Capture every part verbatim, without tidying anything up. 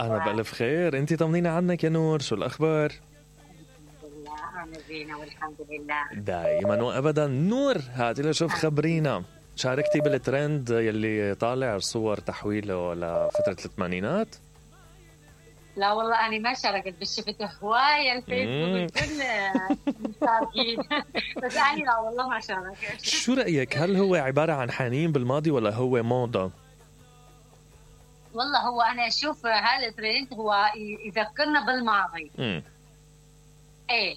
أنا بألف خير. أنتي طمنينا عنك يا نور، شو الأخبار؟ الحمد لله أنا زينة والحمد لله دائما وأبدا. نور هاتي لشوف خبرينا، شاركتي بالترند يلي طالع صور تحويله لفترة الثمانينات؟ لا والله أنا ما شاركت، بس شفت هواية الفيسبوك الكل مشاركين بس أنا لا والله ما شاركت. شو رأيك، هل هو عبارة عن حنين بالماضي ولا هو موضة؟ والله هو أنا أشوف هذا الترند هو يذكرنا بالماضي. امم إيه،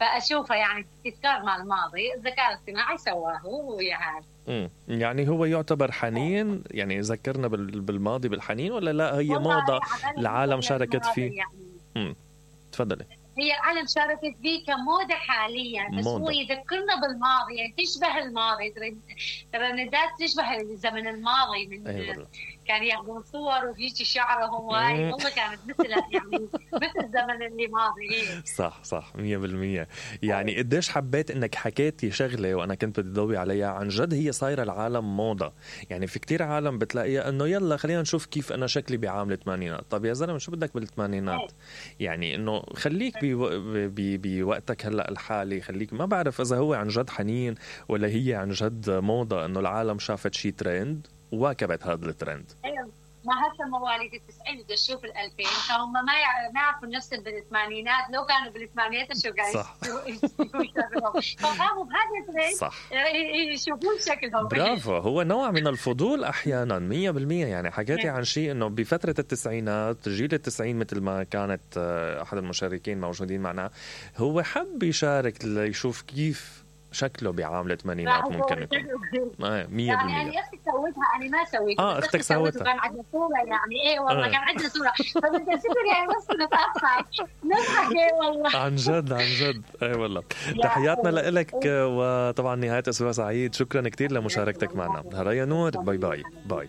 فأشوفه يعني تذكار مع الماضي، الذكاء الاصطناعي سواه ويعني امم يعني هو يعتبر حنين، يعني يذكرنا بالماضي بالحنين، ولا لا هي موضة العالم شاركت فيه؟ امم تفضلي. هي العالم شاركت فيه كموضة حاليا، بس موضة. هو يذكرنا بالماضي، يعني تشبه الماضي، ترندات تشبه الزمن الماضي من أيوة. كان ياخذون صور وهيك شعرهم وهاي والله كانت مثلها يعني مثل الزمن اللي ماضي. صح صح مية بالمية. يعني قديش حبيت انك حكيتي شغلة وانا كنت بدي ضوي عليها، عن جد هي صايرة العالم موضة. يعني في كتير عالم بتلاقيها انه يلا خلينا نشوف كيف انا شكلي بعام الثمانينات. طب يا زلمة شو بدك بالثمانينات؟ يعني انه خليك بوقتك هلا الحالي، خليك. ما بعرف اذا هو عن جد حنين ولا هي عن جد موضة، انه العالم شافت شي ترند وواكبت هذا الترند. ما هسه مواليد التسعين بدي اشوف الألفين، فهم ما ما يعرفوا نفس بالثمانينات، لو كانوا بالثمانينات شو قاعد يشوفوا فقاموا بهذا الترند صح يشوفون شكلهم. برافو، هو نوع من الفضول احيانا. مية بالمية. يعني حكيتي عن شيء انه بفترة التسعينات، جيل التسعين مثل ما كانت احد المشاركين موجودين معنا، هو حب يشارك ليشوف كيف شكله بعام الثمانينات ممكن يكون. آه مية بالمية. يعني أختي سويتها أنا ما سويتها. آه أختك سويتها. كان عندنا صورة يعني إيه والله آه. كان عندنا صورة فبدي أسافر يعني بس نتأخر نضحك إيه والله. عن جد عن جد إيه والله. تحياتنا لإلك وطبعا نهاية أسبوع سعيد. شكرا كتير لمشاركتك معنا. هريا نور، باي باي باي.